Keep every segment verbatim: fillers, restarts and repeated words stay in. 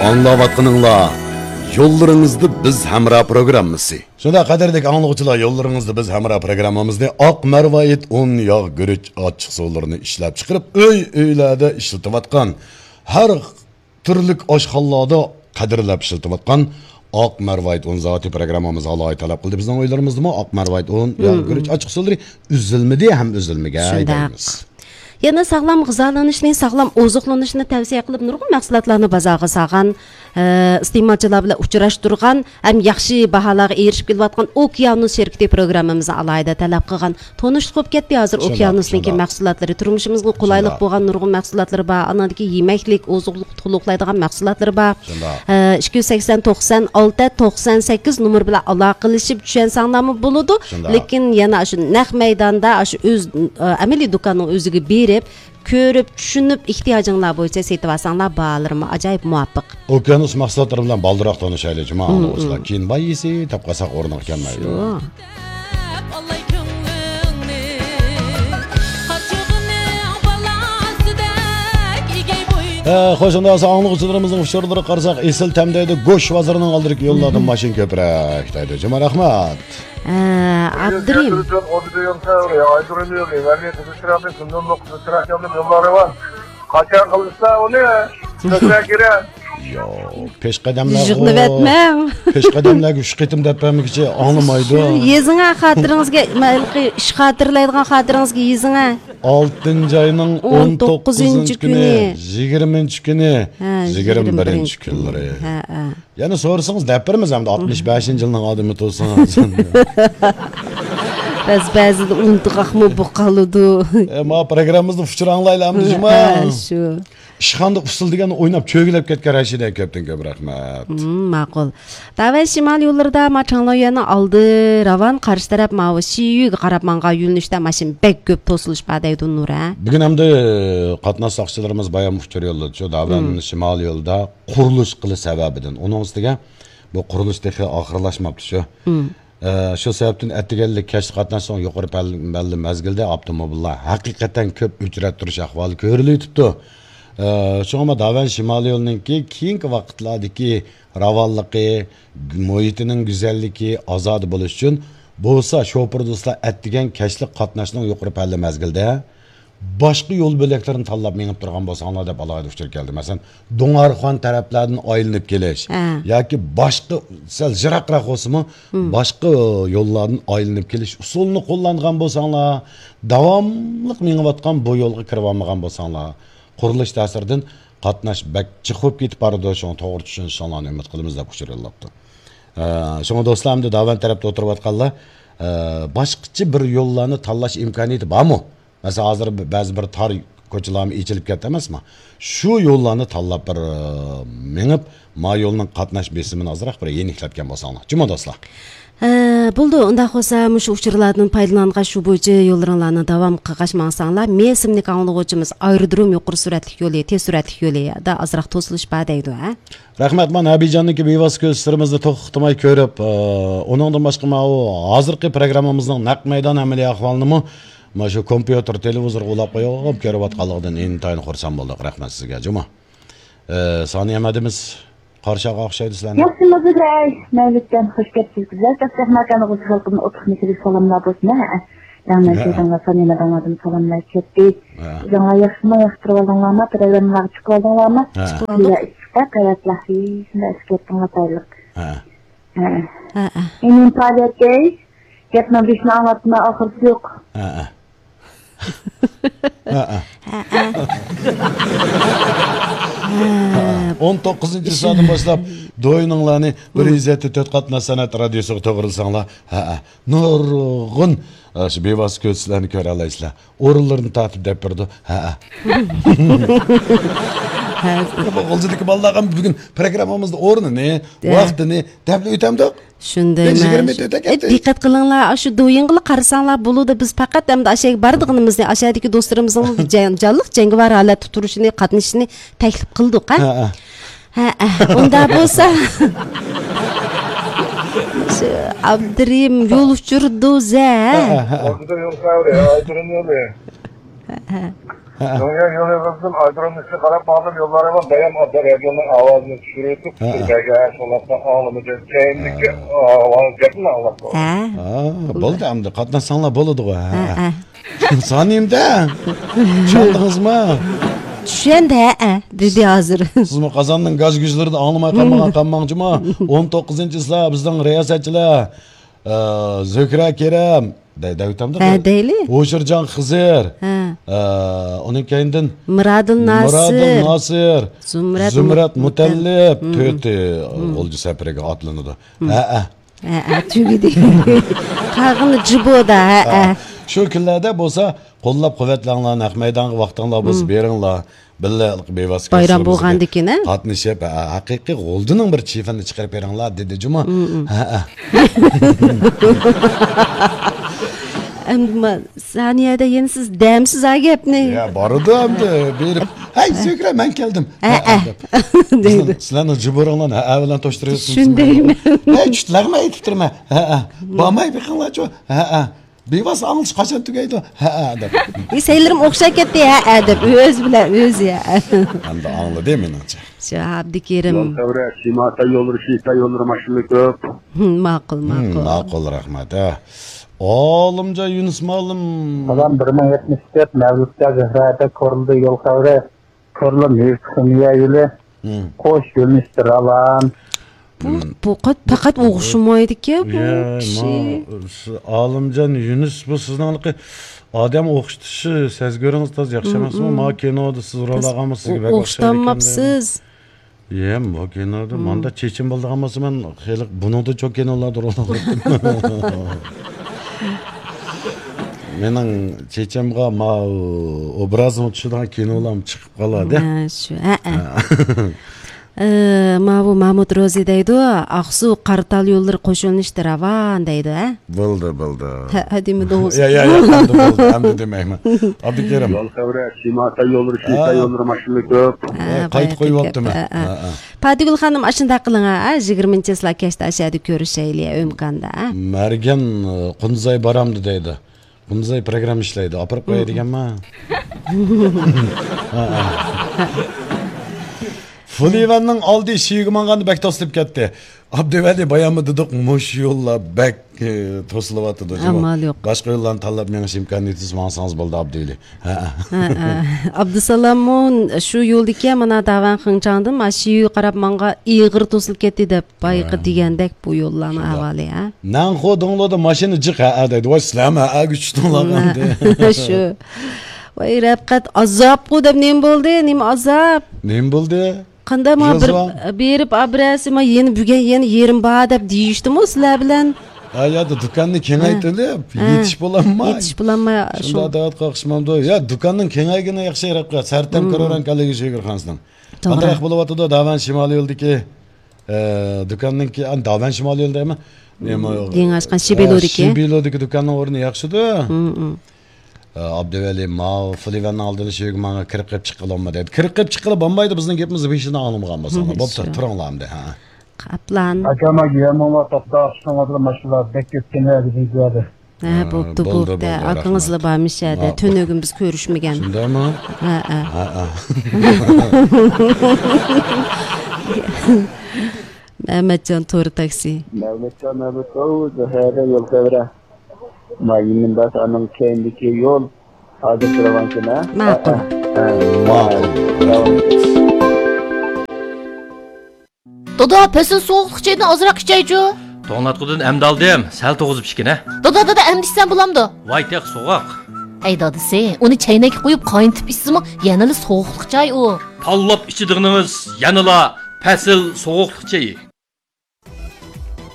ئاڭلاۋاتقىنىڭلار يوللىرىڭىزدا بىز ھەمراھ پروگراممىسى. شۇنداق، قەدىرلىك ئاڭلىغۇچىلار، يوللىرىڭىزدا بىز ھەمراھ پروگراممىمىزنى ئاق مەرۋايىت ئۇن، ياغ، گۈرۈچ، ئاچچىق سۇلىرىنى ئىشلەپ چىقىرىپ، ئۆي-ئۆيلەردە ئىشلىتىۋاتقان، ھەر تۈرلۈك ئاشخانىلاردا قەدىرلەپ ئىشلىتىۋاتقان ئاق مەرۋايىت ئۇن زاۋۇتى پروگراممىمىزغا ئالاھىدە تەلەپ قىلدى. بىزنىڭ ئۆيلىرىمىزدىمۇ ئاق مەرۋايىت ئۇن، ياغ، گۈرۈچ، ئاچچىق سۇلىرى ئۈزۈلمىدى ھەم ئۈزۈلمىگەي دەيمىز. يەنە ساغلام غىزالىنىشنى، ساغلام ئوزۇقلىنىشنى تەۋسىيە قىلىپ، نۇرغۇن مەھسۇلاتلارنى بازارغا سالغان، ئە، ئىستېمالچىلار بىلەن ئۇچراشتۇرغان ھەم ياخشى باھالارغا ئېرىشىپ كېلىۋاتقان ئوكيانۇس شىركىتى پروگراممىمىزنى ئالاھىدە تەلەپ قىلغان. تونۇشلۇق بولۇپ كەتتى ھازىر شۇنداق، ئوكيانۇسنىڭكى شۇنداق. مەھسۇلاتلىرى، تۇرمۇشىمىزغا قولايلىق شۇنداق. بولغان نۇرغۇن مەھسۇلاتلىرى بار. ئانىڭدىكى يېمەكلىك، ئوزۇقلۇق تولۇقلايدىغان مەھسۇلاتلىرى بار. شۇنداق. ئە، ئىككى يۈز سەكسەن، توقسان ئالتە، توقسان سەككىز نومۇر بىلەن ئالاقىلىشىپ چۈشەنسەڭلارمۇ بولىدۇ. شۇنداق. لېكىن يەنە شۇ نەق مەيداندا، شۇ ئۆز، ئە، ئەمەلىي دۇكاننىڭ ئۆزىگە بېرىپ، كۆرۈپ، چۈشىنىپ، ئېھتىياجىڭلار بويىچە سېتىۋالساڭلار، باھالىرىمۇ ئاجايىپ مۇۋاپىق. ئوكيانۇس مەھسۇلاتلىرى بىلەن بالدۇرراق تونۇشايلى، جۇما مم، ئاڭلىغۇچىلار. مم. كېيىن باي يېسە، تاپقانساق ئورنىغا كەلمەيدۇ. شۇ. ئە، خوش، ئۇنداق بولسا ئاڭلىغۇچىلىرىمىزنىڭ ئۇچۇرلىرىغا قارىساق، ئېسىل تەم دەيدۇ، گۆش بازىرىنىڭ ئالدىدىكى يوللاردىن مم. ماشىنا كۆپرەك دەيدۇ. جۇما، رەھمەت. ئە، ئابدۇرېھىم. قاچان قىلىسىلەر ئۇنى؟ كۆپرەك كېرەك. ياق، پېشقەدەملەرغۇ-، يىغلىۋەتمەڭ. پېشقەدەملەرگە ئۈچ قېتىم دەپ بەرمىگۈچە ئاڭلىمايدۇ. شۇ يېزىڭە خاتىرىڭىزگە، مايلىقى ئىش خاتىرىلەيدىغان خاتىرىڭىزگە يېزىڭە. ئالتىنچى ئاينىڭ ئون توققۇزىنچى كۈنى، يىگىرمىنچى كۈنى، ھە، يىگىرمە بىرىنچى كۈنلىرى. ھە، ھە. يەنە سورىسىڭىز دەپ بېرىمىز ئەمدى، ئاتمىش بەشىنچى يىلنىڭ ئادىمى تۇرسىڭىز. بەز-، بەزىدە ئۇنتۇغاقمۇ بولۇپ قالىدۇ. ئە، ما پروگراممىمىزنى ئۇچۇر ئاڭلايلى ئەمدى، جۇما. ھە، شۇ. ئىشخانىدا ئۇسسۇل دېگەننى ئويناپ چۆگىلەپ كەتكەن رەشىدە، كۆپتىن كۆپ رەھمەت. ھىم، ماقۇل. داۋەن شىمال يوللىرىدا ما چاڭلايۈەننىڭ ئالدى راۋان، قارشى تەرەپ ماۋۇ شىيۈگە قاراپ ماڭغان يۆنىلىشتە ماشىنا بەك كۆپ توسۇلۇش بار دەيدۇ نۇر، ھە؟ بۈگۈن ئەمدى قاتناش ساقچىلىرىمىز بايام ئۇچۇر يوللىدى شۇ داۋەن ھىم. شىمال يولىدا قۇرۇلۇش قىلىش سەۋەبىدىن. ئۇنىڭ ئۈستىگە بۇ قۇرۇلۇش تېخى ئاخىرلاشماپتۇ شۇ. ھىم. ئە، شۇ سەۋەبتىن ئەتىگەنلىك كەچلىك قاتناشنىڭ يۇقىرى پەل-، پەللە مەزگىلدە ئاپتوموبىللار ھەقىقەتەن كۆپ ئۆچرەتتۈرۈش ئەھۋالى كۆرۈلۈۋېتىپتۇ. ئە، شۇڭا ما داۋەن شىمال يولىنىڭكى كېيىنكى ۋاقىتلاردىكى راۋانلىقى، مۇھىتىنىڭ گۈزەللىكى، ئازادە بولۇش ئۈچۈن بولسا شوپۇر دوستلار ئەتىگەن كەچلىك قاتناشنىڭ يۇقىرى پەللە مەزگىلدە باشقا يول بۆلەكلىرىنى تاللاپ مېڭىپ تۇرغان بولساڭلار دەپ ئالاھىدە ئۇچۇر كەلدى. مەسىلەن، دۇڭئارخان تەرەپلەردىن ئايلىنىپ كېلىش ھە. ياكى باشقا سەل يىراقراق بولسىمۇ، ھىم. باشقا يوللاردىن ئايلىنىپ كېلىش ئۇسۇلىنى قوللانغان بولساڭلار، داۋاملىق مېڭىۋاتقان بۇ يولغا كىرىۋالمىغان بولساڭلار، قۇرۇلۇش تەسىرىدىن قاتناش بەك جىق بولۇپ كېتىپ بارىدۇ، شۇڭا توغرا چۈشىنىشىڭلارنى ئۈمىد قىلىمىز دەپ ئۇچۇر يوللاپتۇ. ئە، شۇڭا دوستلار، ئەمدى داۋەن تەرەپتە ئولتۇرۇۋاتقانلار، ئە، باشقىچە بىر يوللارنى تاللاش ئىمكانىيىتى بارمۇ؟ مەسىلەن، ھازىر بەزى بىر تار كوچىلارمۇ ئېچىلىپ كەتتى ئەمەسمۇ؟ شۇ يوللارنى تاللاپ بىر، ئە، مېڭىپ، ما يولنىڭ قاتناش بېسىمىنى ئازراق بىر يېنىكلەتكەن بولساڭلار. جۇمۇ دوستلار. ھە، بولىدۇ. ئۇنداق بولسا، مۇشۇ ئۇچۇرلاردىن پايدىلانغاچ، شۇ بويىچە يوللىرىڭلارنى داۋام قىلغاچ ماڭساڭلار، مې ئىسىملىك ئاڭلىغۇچىمىز ئايرودروم يۇقىرى سۈرئەتلىك يولى، تېز سۈرئەتلىك يولى، دا ئازراق توسۇلۇش بار دەيدۇ، ھە؟ رەھمەت، مانا ھەبىجاندىكى بىۋاسىتە كۆزىتىشلىرىمىزنى توختىماي كۆرۈپ، ئە، ئۇنىڭدىن باشقا ماۋۇ ھازىرقى پروگراممىمىزنىڭ نەق مەيدان ئەمەلىي ئەھۋالىنىمۇ مانا شۇ كومپيۇتېر، تېلېۋىزورغا ئۇلاپ قويۇپ كۆرۈۋاتقانلىقىدىن ئىنتايىن خۇرسەن بولدۇق. رەھمەت سىزگە، جۇمۇ. ئە، سانىيە مەدىمىز قارشىغا ئوخشايدۇ سىلەرنى. ياخشىمۇ بىزەي؟ مەۋلۇتجان، خوش كەپسىز. گۈزەل چاقچاق ماكانغا خەلقىمنى ئوتلۇق مېھرىلىك سالاملار بولسۇن، ھە. ياڭ ھە. مەنچىدىڭلار، سانىيە مەدەڭلاردىن سالاملار كەتتى. ھە. ئۆزۈڭلار ياخشىمۇ؟ ياقتۇرۇۋالدىڭلارمۇ؟ پروگراممىلارغا چىقىۋالدىڭلارمۇ؟ ھە. چىقىۋالدۇق. ئىشقا قەۋەتلەر، شۇنداق ئىشقا كەتتىڭلار، بايلىق. ھە. ھە. ھە، ھە. ئىنىم پائالىيەتكەي، گەپنىڭ بېشىنى ئاڭلاتما، ئاخىرىسى يوق. ھە، ھە. ھە، ھە. ھە، ھە. ئون توققۇزىنچى سائەتتىن باشلاپ دوينۇڭلارنى بىر يۈز يەتتە تۆت قاتناش سەنئەت رادىيوسىغا توغرىلىساڭلار، ھە، ھە. نۇرغۇن، ئە، شۇ بىۋاسىتە كۆزىتىشلەرنى كۆرەلەيسىلەر. ئورۇنلىرىنى تارتىپ دەپ بېرىدۇ. ھە، ھە. ھە. بۇ غۇلجىدىكى بالىلارغا بۈگۈن پروگراممىمىزدا ئورنىنى، ھە. ۋاقتىنى دەپلا ئۆتەمدۇق. شۇنداق بەش يىگىرمە ئەمەس. ئۆتەكەتتى. ئەي، دىققەت قىلىڭلار، ئاشۇ دويىڭغىلا قارىساڭلار بولىدۇ. بىز پەقەت ئەمدى ئاشەگە بارىدىغىنىمىزنى، ئاشەدىكى دوستلىرىمىزنىڭ جان-، جانلىق جەڭگىۋار ھالەتتە تۇرۇشىنى، قاتنىشىشىنى تەكلىپ قىلدۇق، ھە؟ ھە، ھە. ھە، ھە. ئۇنداق بولسا، شۇ ئابدۇرېھىم يول ئۇچۇرى دوزە، ھە؟ ھە، ھە، ھە. ھە، ھە. ھە. شۇڭا يول يولىدىن ئايرودرومنىڭ ئىچىگە قاراپ ماڭدىم، يوللار ھامان دايان ئاددا رادىيونىڭ ئاۋازىنى چۈشۈرۈۋېتىپ، ھە، ھە. سۈرمەيگە، شۇڭلاشقا ئاڭلىمىدىم. كەينىدىكى، ھە، ئاۋاز گەپنى ئاڭلاپ قالدىم. ھە. ھە، بولدى ئەمدى، قاتناشساڭلار بولىدىغۇ. ھە، ھە. ھە. سانىيىمدە. چۈشەندىڭىزمۇ؟ چۈشەندى، ھە، ھە، دېدى ھازىر. سىزمۇ قازاننىڭ گاج-گۈجلىرىدە ئاڭلىماي قالمىغان، قالماڭچىما؟ ئون توققۇزىنچى چىسلا بىزنىڭ رىياسەتچىلەر، ئە، زۆھرە كېرەم، دەي-، دەۋېتەمدۇ؟ ھە، دەيلى. ھوشۇرجان خىزىر. ھە. ئە، ئۇنىڭ كەينىدىن مىرادىل ناسىر. مىرادىل ناسىر. زۇمرەت زۇمرەت مۇتەللىپ. مۇتەللىپ. ھە. تۆتى، ھە، غۇلجا سەپىرىگە ئاتلىنىدۇ. ھە. ھە، ھە. ھە، ھە، تۈگىدى. قالغىنى جىبودا، ھە، ھە. ھە. شۇ كۈنلەردە بولسا قوللاپ قۇۋۋەتلەڭلار، نەق مەيدانغا ۋاقتىڭلار بولسا بېرىڭلار. بىللە بىۋاسىتە بايرام بولغاندىكىن، ھە؟ قاتنىشىپ، ھە، ھەقىقىي غۇلجىنىڭ بىر چېفىنى چىقىرىپ بېرىڭلار، دېدى جۇمۇ. ھە، ھە. ئەمدى ما-، سانىيەدە يەنە سىز دەمسىز ھە گەپنى. يا، بارىدۇ ئەمدى بېرىپ. ھەي، زۆھرە، مەن كەلدىم. ھە، ھە، ھە. دەيدۇ. سىلەرنىڭ جۇبۇرۇڭلارنى ھە، ھە بىلەن توشتۇرۇۋېتىپسىز. شۇندايمەن. ھەي، چۈشتىلەرمۇ ئېيتىپ تۇرىمەن. ھە، ھە. بارماي بېقىڭلارچۇ. ھە، ھە. بىۋاسىتە ئاڭلىتىش قاچان تۈگەيدۇ؟ ھەئە دەپ. ئى، سەيلىرىم ئوخشاپ كەتتى، ھەئە دەپ. ئۆزى بىلەن ئۆزى، ھەئە. ئەمدى ئاڭلىدى مېنىڭچە. شۇ ئابدۇكېرىم. يول خەۋىرى، شىمال تاي يوللىرى، شىنجاڭ تاي يوللىرى ماشىنىلار كۆپ. ماقۇل، ماقۇل. ماقۇل، رەھمەت، ھە. ئالىمجان يۈنۈس مۇئەللىم. سالام، بىر مىڭ يەتمىش تۆت، مەۋلۇتجان، زۆھرەدە كورلىدى يول خەۋىرى. كورلىما ھېيت خىمىيە يولى، قوش يۆنىلىشتە راۋان. بۇ، بۇ قات-، پەقەت ئوخشىمايدىكەن بۇ كىشى. ئالىمجان يۈنۈس، بۇ سىزنىڭ ھېلىقى ئادەم ئوخشىتىشى، سەزگۈرىڭىز تازا ياخشى ئەمەسمۇ؟ ما كىنودا سىز رول ئالغانمۇ، سىزگە بەك ئوخشايدىكەن. ئوخشىتالماپسىز. يەم، بۇ كىنودا ماندا چېچىم بولىدىغان بولسا، مەن خېلى بۇنىڭدىن چوڭ كىنولاردا رول ئالغانتىم. مېنىڭ چېچىمغا ما ئوبرازىم چۈشىدىغان كىنولارمۇ چىقىپ قالىدۇ. ھە، شۇ، ھە، ھە. ئە، ماۋۇ مامۇت روزى دەيدۇ، ئاقسۇ قاراتال يوللىرى قوشۇلۇشتا راۋان دەيدۇ، ھە؟ بولدى، بولدى. ھە، ھە دېمىدىڭىز. يا، يا، يا، ئەمدى بولدى، ئەمدى دېمەيمەن. ئابدۇكېرىم. يول خەۋىرى، شىمال تاي يوللىرى، شىنجاڭ تاي يوللىرى ماشىنىلار كۆپ. ھە، قايتا قويۇۋاپتىمەن. ھە، ھە. پاتىگۈل خانىم، ئاشۇنداق قىلىڭ، ھە، يىگىرمىنچى چىسلا كەچتە ئاشەدە كۆرۈشەيلى، ئىمكاندا، ھە. مەرگەن، قۇندىزاي بارامدۇ دەيدۇ. قۇندىزاي پروگرامما ئىشلەيدۇ، ئاپىرىپ قوياي دېگەنما. فۇلىۋەننىڭ ئالدى شىۋىگە ماڭغاندا بەك توسۇلۇپ كەتتى. ئابدۇۋەلى، باياممۇ دېدۇق، مۇشۇ يوللار بەك، ئى، توسۇلۇۋاتىدۇ. ئامال يوق. باشقا يوللارنى تاللاپ مېڭىش ئىمكانىيىتىسى، ماڭسىڭىز بولدى، ئابدۇۋەلى. ھە، ھە. ھە، ھە. ئابدۇسالاممۇ شۇ يولدىكى مانا داۋەن خىڭچاڭدىن، ما شىۋىگە قاراپ ماڭغان ئېغىر توسۇلۇپ كەتتى دەپ. بايىقى دېگەندەك بۇ يوللارنىڭ ئەھۋالى، ھە؟ نەنخۇ دۇڭلۇدا ماشىنا جىق، ھەئە دەيدۇ. ۋاي، سىلەرمۇ ھەئەگە چۈشتۈڭلار ئەمدى. شۇ. ۋاي، رەپقەت، ئازابقۇ دەپ نېمە بولدى؟ نېمە ئازاب؟ نېمە بولدى؟ قانداق ما بىر، بېرىپ ئابرەسى، ما يەنە بۈگۈن يەنە يېرىم بار دەپ دېيىشتىمۇ سىلەر بىلەن؟ ھە، يادا دۇكاننى كېڭەيتىلىپ، يېتىش بولالماي. يېتىش بولالماي، شۇنداق دەۋاتقان ئوخشىمامدۇ؟ يا، دۇكاننىڭ كېڭەيگىنى ياخشى، رەپقەت. سەرتەم كۆرۈۋېرەڭ كەلگۈسى شېگىرخانىسىنىڭ. توغرا. قانداق بولۇۋاتىدۇ؟ داۋەن شىمالىي يولدىكى ئە، دۇكاننىڭكى، ئان، داۋەن شىمالىي يولدا ئەمەس. نېمە، يېڭى ئاچقان ئە، شىبىلودىكى. شىبىلودىكى دۇكاننىڭ ئورنى ياخشىدۇ. ئە، ئابدۇۋەلى، ماۋۇ فۇلىۋەننىڭ ئالدىدا شۇ يەرگە ماڭا كىرىپ قېلىپ چىققىلى بولمىدى. كىرىپ قېلىپ چىققىلى بولمايدۇ، بىزنىڭ گېپىمىزنى بېشىدىن ئاڭلىمىغان بولساڭلار. بوپتۇ، تۇرۇڭلار ئەمدى، ھە. قاپلان. ئاكام، ئاكا، يەنمۇ توختاپ، شۇڭا ماشىنىلار بەك كۆپ كېلىۋاتىدۇ بىزلەردە. ھە، بوپتۇ، بولدى، بوپتۇ. بولدى، ئاكىڭىزلا رەھمەت. بارمىش يەردە. ماقۇل. تۈنۈگۈن بىز كۆرۈشمىگەن. شۇنداقمۇ؟ ھە، ھە. ھە، ھە. مەمەتجان، تور تاكسى. مەمەتجان، مەمەت، ئوۋ، زۆھرەدە يول خەۋىرى. ما يېڭىنداش ئانىڭ كەينىدىكى يول. ھازىر تۇرۇۋالسىن، ھە؟ ماقۇل. ھە، ھە. ماقۇل. دادا، پەسىل سوغۇقلۇق چېيىدىن ئازراق ئىچەيچۇ. توڭلاتقۇدىن ئەمدى ئالدىم، سەل توغۇزۇپ ئىچكىنە. دادا، دادا، ئەمدى ئىچسەم بولامدۇ؟ ۋاي، تېخى سوغۇق. ئەي دادىسى، ئۇنى چەينەككە قويۇپ قاينىتىپ ئىچسىمۇ يەنىلا سوغۇقلۇق چاي ئۇ. تاللاپ ئىچىدىغىنىڭىز يەنىلا پەسىل سوغۇقلۇق چېيى.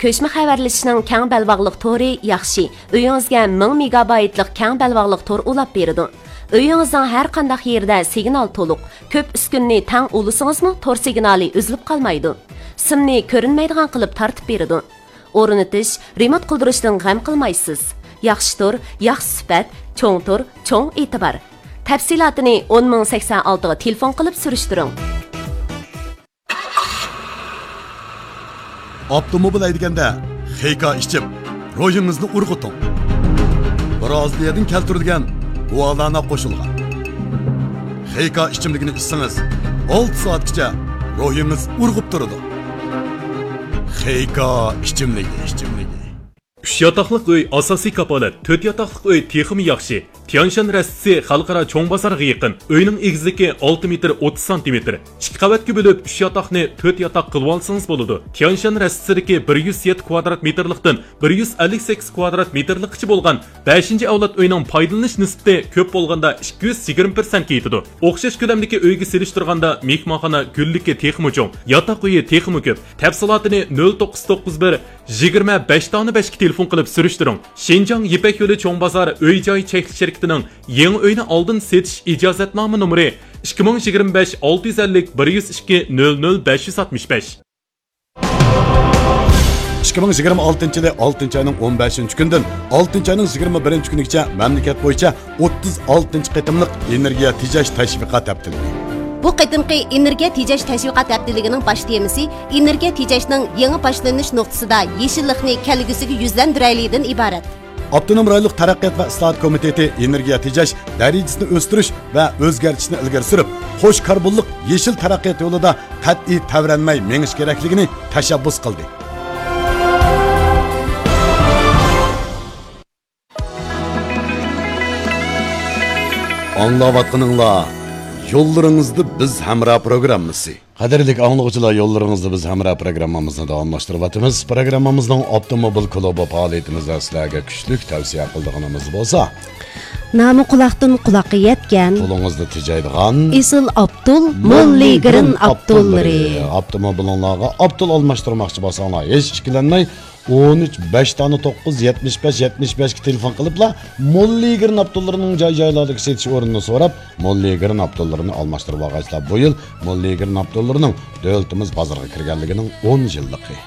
كۆچمە خەۋەرلىشىشنىڭ كەڭ بەلباغلىق تورى ياخشى. ئۆيىڭىزگە مىڭ مېگابايتلىق كەڭ بەلباغلىق تور ئۇلاپ بېرىدۇ. ئۆيىڭىزنىڭ ھەر قانداق يېرىدە سىگنال تولۇق. كۆپ ئۈسكۈنىنى تەڭ ئۇلىسىڭىزمۇ تور سىگنالى ئۈزۈلۈپ قالمايدۇ. سىمنى كۆرۈنمەيدىغان قىلىپ تارتىپ بېرىدۇ. ئورنىتىش، رېمونت قىلدۇرۇشتىن غەم قىلمايسىز. ياخشى تور، ياخشى سۈپەت، چوڭ تور، چوڭ ئېتىبار. تەپسىلاتىنى ئون مىڭ سەكسەن ئالتىغا تېلېفون قىلىپ سۈرۈشتۈرۈڭ. ئاپتوموبىل ھەيدىگەندە خېيكا ئىچىپ، روھىڭىزنى ئۇرغۇتۇڭ. برازىلىيەدىن كەلتۈرۈلگەن گۇالانا قوشۇلغان. خېيكا ئىچىملىكىنى ئىچسىڭىز، ئالتە سائەتكىچە روھىڭىز ئۇرغۇپ تۇرىدۇ. خېيكا ئىچىملىكى، ئىچىملىكى. ئۈچ ياتاقلىق ئۆي ئاساسىي كاپالەت، تۆت ياتاقلىق ئۆي تېخىمۇ ياخشى. تيانشان رەستىسى خەلقئارا چوڭ بازارغا يېقىن. ئۆينىڭ ئېگىزلىكى ئالتە مېتىر ئوتتۇز سانتىمېتىر. ئىككى قەۋەتكە بۆلۈپ، ئۈچ ياتاقنى تۆت ياتاق قىلىۋالسىڭىز بولىدۇ. تيانشان رەستىسىدىكى بىر يۈز يەتتە كۋادرات مېتىرلىقتىن بىر يۈز ئەللىك سەككىز كۋادرات مېتىرلىققىچە بولغان بەشىنچى ئەۋلاد ئۆينىڭ پايدىلىنىش نىسبىتى كۆپ بولغاندا ئىككى يۈز يىگىرمە پىرسەنتكە يېتىدۇ. ئوخشاش كۆلەمدىكى ئۆيگە سېلىشتۇرغاندا مېھمانخانا گۈللۈكى تېخىمۇ چوڭ، ياتاق ئۆيى تېخىمۇ كۆپ. تەپسىلاتىنى نۆل توققۇز توققۇز بىر، يىگىرمە بەش دانە بەشكە تېلېفون قىلىپ سۈرۈشتۈرۈڭ. شىنجاڭ يىپەك يولى چوڭ بازار ئۆي جاي چەكلىك شىركىتىنىڭ يېڭى ئۆينى ئالدىن سېتىش ئىجازەتنامە نومۇرى ئىككى مىڭ يىگىرمە بەش ئالتە يۈز ئەللىك بىر يۈز ئىككى نۆل نۆل بەش يۈز ئاتمىش بەش. ئىككى مىڭ يىگىرمە ئالتىنچى يىلى ئالتىنچى ئاينىڭ ئون بەشىنچى كۈنىدىن ئالتىنچى ئاينىڭ يىگىرمە بىرىنچى كۈنىگىچە مەملىكەت بويىچە ئوتتۇز ئالتىنچى قېتىملىق ئېنېرگىيە تېجەش تەشۋىقات ھەپتىلىكى. بۇ قېتىمقى ئېنېرگىيە تېجەش تەشۋىقات ھەپتىلىكىنىڭ باش تېمىسى ئېنېرگىيە تېجەشنىڭ يېڭى باشلىنىش نۇقتىسىدا يېشىللىقنى كەلگۈسىگە يۈزلەندۈرەيلىدىن ئىبارەت. ئاپتونوم رايونلۇق تەرەققىيات ۋە ئىسلاھات كومىتېتى ئېنېرگىيە تېجەش دەرىجىسىنى ئۆستۈرۈش ۋە ئۆزگەرتىشنى ئىلگىرى سۈرۈپ، قوش كاربونلۇق يېشىل تەرەققىيات يولىدا قەتئىي تەۋرەنمەي مېڭىش كېرەكلىكىنى تەشەببۇس قىلدى. ئاڭلاۋاتقىنىڭلار يوللىرىڭىزدا بىز ھەمراھ پروگراممىسى. قەدىرلىك ئاڭلىغۇچىلار، يوللىرىڭىزدا بىز ھەمراھ پروگراممىمىزنى داۋاملاشتۇرۇۋاتىمىز. پروگراممىمىزنىڭ ئاپتوموبىل كۇلۇبى پائالىيىتىمىزدە سىلەرگە كۈچلۈك تەۋسىيە قىلىدىغىنىمىز بولسا، نامى قۇلاقتىن قۇلاققا يەتكەن، قولىڭىزدا تېجەيدىغان ئېسىل ئاپتول، موللىگرىن ئاپتوللىرى. ئاپتوموبىلىڭلارغا ئاپتول ئالماشتۇرماقچى بولساڭلار، ھېچ ئىككىلەنمەي، ئون ئۈچ، بەش دانە توققۇز، يەتمىش بەش، يەتمىش بەشكە تېلېفون قىلىپلا، موللىگرىن ئاپتوللىرىنىڭ جاي-جايلاردىكى سېتىش ئورنىنى سوراپ، موللىگرىن ئاپتوللىرىنى ئالماشتۇرۇۋالغايسىلەر. بۇ يىل موللىگرىن ئاپتوللىرىنىڭ دۆلىتىمىز بازىرىغا كىرگەنلىكىنىڭ ئون يىللىقى.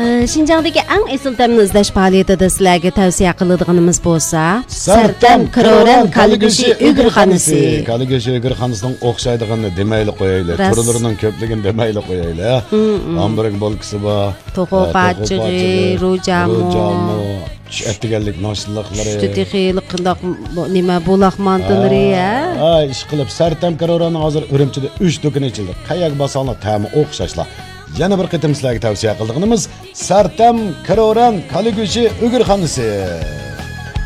ئە، شىنجاڭدىكى ئەڭ ئېسىل تەمنى ئىزدەش پائالىيىتىدە سىلەرگە تەۋسىيە قىلىدىغىنىمىز بولسا، سەرتەم كرورەن كالا گۆشى ئۆگرىخانىسى. كالا گۆشى ئۆگرىخانىسىنىڭ ئوخشايدىغىنىنى دېمەيلى قويايلى. راست. تۈرلىرىنىڭ كۆپلۈكىنى دېمەيلى قويايلى. ھە؟ ھامبۇرگ بولكىسى بار. توخۇ ھە، توخۇ پاچىقى، پاچىقى، روجامۇ. روجامۇ، چۈش ئەتىگەنلىك ناشتىلىقلىرى. چۈشتە تېخى قانداق، بۇ نېمە، بۇلاق مانتىلىرى، ھە، ھە؟ ھە، ئىشقىلىپ، سەرتەم كرورەننىڭ ھازىر ئۈرۈمچىدە ئۈچ دۇكىنى ئېچىلدى. قەيەرگە بارساڭلار تەمى ئوخشاشلا. يەنە بىر قېتىم سىلەرگە تەۋسىيە قىلىدىغىنىمىز، سەرتەم كرورەن كالا گۆشى ئۆگرىخانىسى.